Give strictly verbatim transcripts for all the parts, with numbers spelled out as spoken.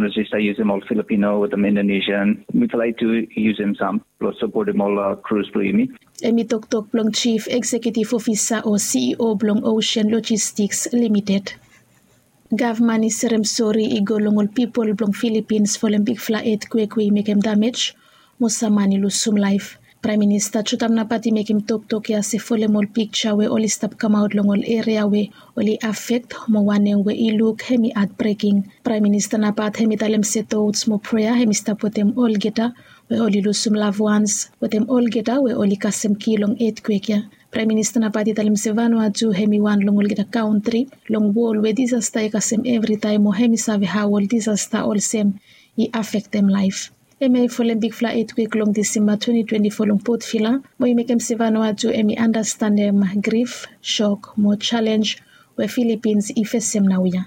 Resista yusum ol Filipino wetem Indonesian. Mifala i tu yusum sam blong sapotem ol krus blong yumi. Hemi toktok blong Chief Executive Officer o CEO blong Ocean Logistics Limited. Gavman i serem sori i go long ol pipol blong Filipins folem bigfala etkwek we i mekem damej mo sam man i lusum laef. Praem Minista Jotam Napat i mekem toktok ya se folem ol pikja we oli stap kamaot long ol eria we oli afekt mo wanem we i luk hemi hatbreking. Praem Minista Napat hemi talem se tots mo prea hemi stap wetem olgeta we oli lusum lavwans wetem olgeta we oli kasem ki long etkwek ya. Praem Minista Napat i talem se Vanuatu hemi wan long olgeta kantri long wol we disasta i kasem evritaem mo hemi save hao ol disasta olsem i afektem laef. Hemia i folem bigfala etkwek long Disemba twenti twenti fo long Port Vila mo i mekem se Vanuatu hemi andastanem grif, shok mo jalenj we Filipins i fesem naoia.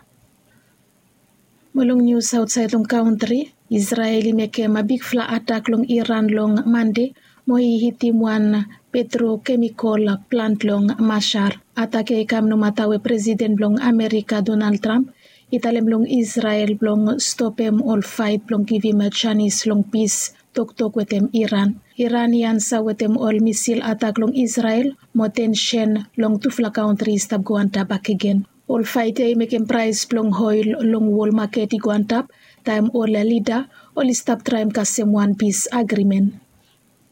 Mo long nius aotsaed long kantri, Isrel i mekem bigfala atak long Iran long Mande mo i hitim wan petrokemikol plant long Mashhad. Atak ya i kam nomata we Presiden blong Amerika Donald Trump i talem long Isrel blong stopem ol faet blong givim janis long pis toktok wetem Iran. Iran i ansa wetem ol misil atak long Isrel mo tensen long tufala kantri i stap go antap bakegen. Ol faet ya i mekem praes blong oel long wol maket i go antap taem ol lida oli stap traem kasem wan pis agrimen.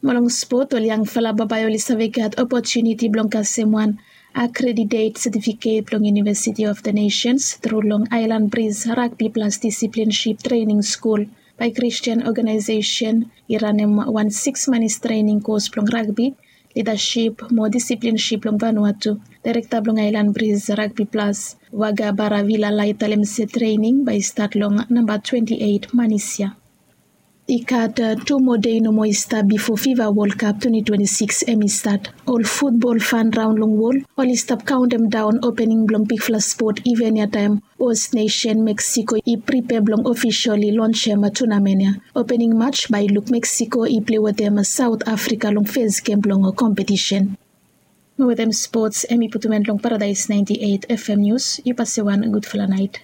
Mo long spot, ol yangfala bambae oli save gat opotuniti blong kasem wan akreditet setifiket blong University of the Nations tru long Aelan Bris Ragbi Plas Disiplinship Trening Skul bae Kristian oganaesesen i ranem wan siks manis trening kos blong ragbi, lidasip mo disiplinship long Vanuatu. Daerekta blong Aelan Bris Ragbi Plas, Waga Baravila, i talem se trening bae i stat long namba twenti eit manis ya. I gat tu moa dei nomo i stap bifo Fifa Wol Kap twenti twenti sikis hemi stat. Ol futbol fan raon long wol oli stap kaontem daon opening blong bigfala spot iven ya taem host nesen Meksiko i pripea blong ofisali lonsem tunamen ya. Opening maj bae i luk Meksiko i plei wetem Saot Afrika long fes gem blong kompetisen. Mo wetem spots hemi putum en long Paradaes naenti eit FM Nius. Yu pase wan gudfala naet.